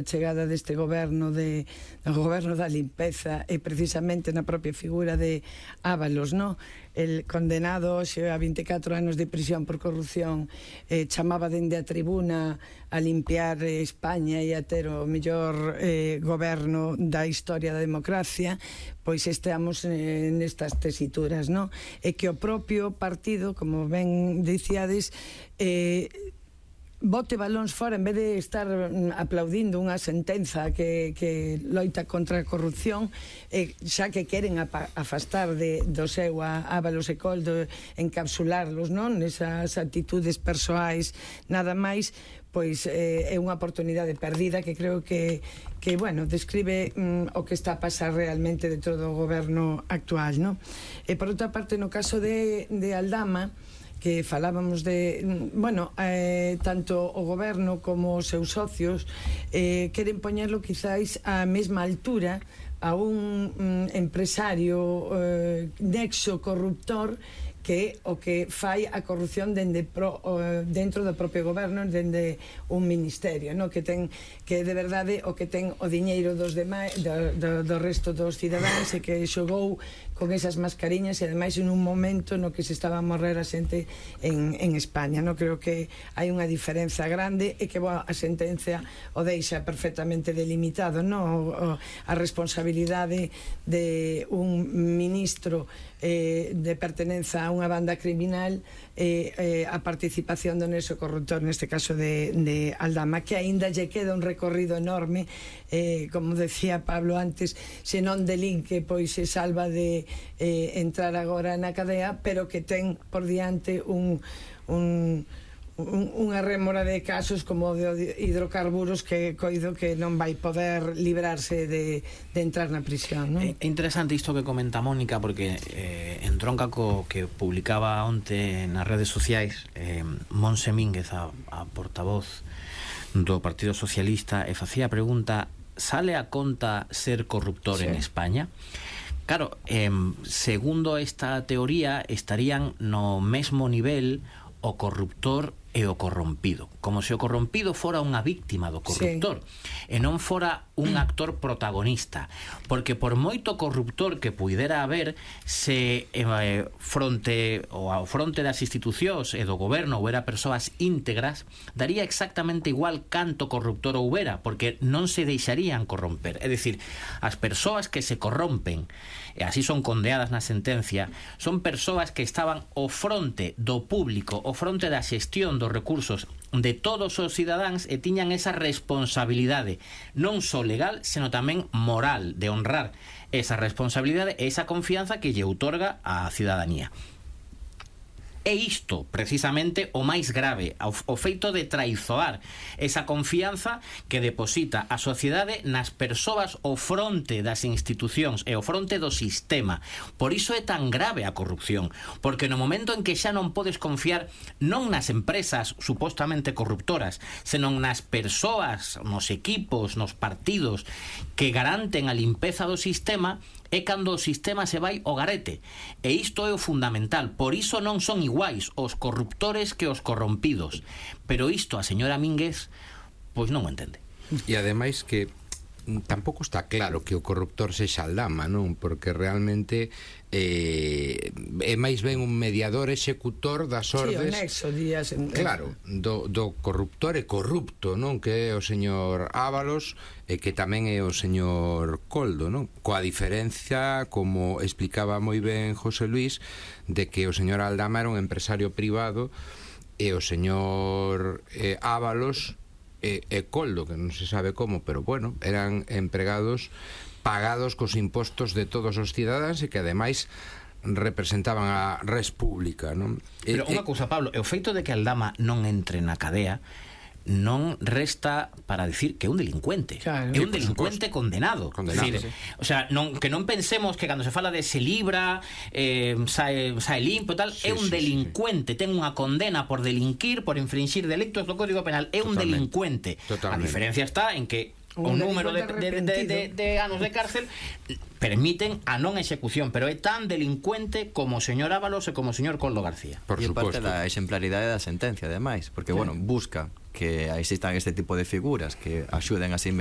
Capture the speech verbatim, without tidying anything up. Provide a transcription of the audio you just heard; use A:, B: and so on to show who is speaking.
A: chegada deste goberno de do goberno da limpeza e precisamente na propia figura de Ábalos, no? El condenado hoxe a vinte e catro anos de prisión por corrupción, eh, chamaba dende a tribuna a limpiar eh, España e a ter o mellor eh, goberno da historia da democracia. Pois estamos eh, nestas tesituras, no? E que o propio partido, como ben dicíades, eh, bote balóns fora en vez de estar aplaudindo unha sentenza que, que loita contra a corrupción, eh, xa que queren afastar de, do seu a Ábalos e Coldo, encapsularlos, non? Nesas actitudes persoais nada máis, pois eh, é unha oportunidade perdida que creo que, que bueno, describe mm, o que está a pasar realmente dentro do goberno actual, non? E por outra parte, no caso de, de Aldama, que falábamos de, bueno, eh, tanto o goberno como os seus socios eh, queren poñerlo quizáis á mesma altura a un mm, empresario eh, nexo corruptor que o que fai a corrupción dende pro, uh, dentro do propio goberno, dende un ministerio, no? Que ten, que de verdade o que ten o diñeiro dos demais, do, do, do resto dos cidadáns, e que xogou con esas mascariñas, e ademais en un momento no que se estaba a morrer a xente en, en España, no? Creo que hai unha diferenza grande e que boa, a sentencia o deixa perfectamente delimitado, no? O, o, a responsabilidade de un ministro eh, de pertenenza a unha banda criminal, eh, eh, a participación do nexo corruptor, neste caso de, de Aldama, que aínda lle queda un recorrido enorme, eh, como decía Pablo antes, se non delinque, pois se salva de eh, entrar agora na cadea, pero que ten por diante un, un unha rémora de casos como de hidrocarburos que coido que non vai poder librarse de, de entrar na prisión, non?
B: É interesante isto que comenta Mónica, porque eh, entronca co que publicaba onte nas redes sociais eh, Monse Mínguez, a, a portavoz do Partido Socialista, e facía a pregunta: sale a conta ser corruptor sí. en España? Claro, eh, segundo esta teoría, estarían no mesmo nivel o corruptor e o corrompido, como se o corrompido fora unha víctima do corruptor, sí. e non fora un actor protagonista, porque por moito corruptor que puidera haber, se eh, fronte ou ao fronte das institucións e do goberno houbera persoas íntegras, daría exactamente igual canto corruptor houbera, porque non se deixarían corromper. É dicir, as persoas que se corrompen, e así son condeadas na sentencia, son persoas que estaban ao fronte do público, ao fronte da xestión dos recursos de todos os cidadáns, e tiñan esa responsabilidade non só legal, sino tamén moral, de honrar esa responsabilidade e esa confianza que lle outorga a cidadanía. É isto, precisamente, o máis grave, o, o feito de traizoar esa confianza que deposita a sociedade nas persoas ao fronte das institucións e ao fronte do sistema. Por iso é tan grave a corrupción, porque no momento en que xa non podes confiar non nas empresas supostamente corruptoras, senón nas persoas, nos equipos, nos partidos que garanten a limpeza do sistema, é cando o sistema se vai ao garete. E isto é o fundamental. Por iso non son iguais os corruptores que os corrompidos. Pero isto a señora Mínguez pois non o entende.
C: E ademais que tampouco está claro que o corruptor sexa Aldama, non? Porque realmente eh, é máis ben un mediador executor das ordes,
A: sí, o nexo, días en...
C: claro, do, do corruptor e corrupto, non? Que é o señor Ábalos e que tamén é o señor Coldo, non? Coa diferencia, como explicaba moi ben José Luis, de que o señor Aldama era un empresario privado e o señor eh, Ábalos e, e Coldo, que non se sabe como, pero bueno, eran empregados pagados cos impostos de todos os cidadáns e que ademais representaban a res pública, non?
B: Pero unha cousa, Pablo, o feito de que Aldama non entre na cadea non resta para decir que é un delincuente, claro, é un delincuente condenado, condenado decir, sí. O sea, non, que non pensemos que cando se fala de se libra eh, sae, sae limpo e tal, sí, é un sí, delincuente, sí. Ten unha condena por delinquir, por infringir delictos do Código Penal, é un Totalmente. delincuente. Totalmente. A diferencia está en que o número de, de, de, de, de anos de cárcel permiten a non execución, pero é tan delincuente como o señor Ábalos e como o señor Coldo García.
D: Por e suposto. Parte da exemplaridade da sentencia, además, porque, sí. bueno, busca que existan este tipo de figuras que axuden a se investigar